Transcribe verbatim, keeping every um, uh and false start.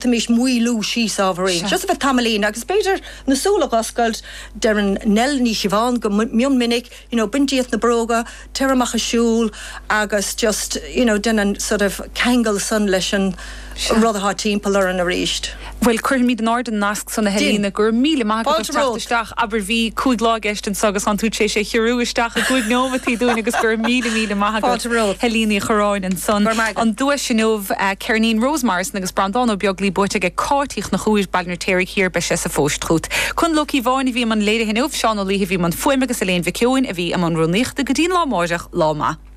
D'fhéadfaimis maolú síos ábhairín. Just a bheith tamaillín agus b'fhéidir na súile a dh'oscailt, deireann Nell Ní Chiobháin go mion minic, you know, bain díot na bróga, téir amach ag siúl agus just, you know, déan an sort of ceangal san leis an rud atá timpeall orainn arís. Bhuel, cuirfimid in airde an nasc san a Helena, go raibh míle maith agat as teacht isteach. Abair bhí cúig lá i gceist anso agus tánn tú tar éis é a chiorrú isteach i gcúig nóimeataí dúinn agus go raibh míle míle maith agat. Helena Uí Chorráin ansan. An duais inniu, ceirnín Rose Morrison agus Breandán Ó Beaglaoi buaite ag Cáit Uí Chonchúir, Baile an Fheirtéaraigh Thiar, beidh sé sa phost chugat. Conall Ó Cíobháin a bhí i mbun léirithe inniu, Seán Ó Laoithe a bhí i mbun fuaime agus Elaine Mhic Eoin a bhí i mbun rúnaíochta. Go dtí an lá amáireach, lá maith.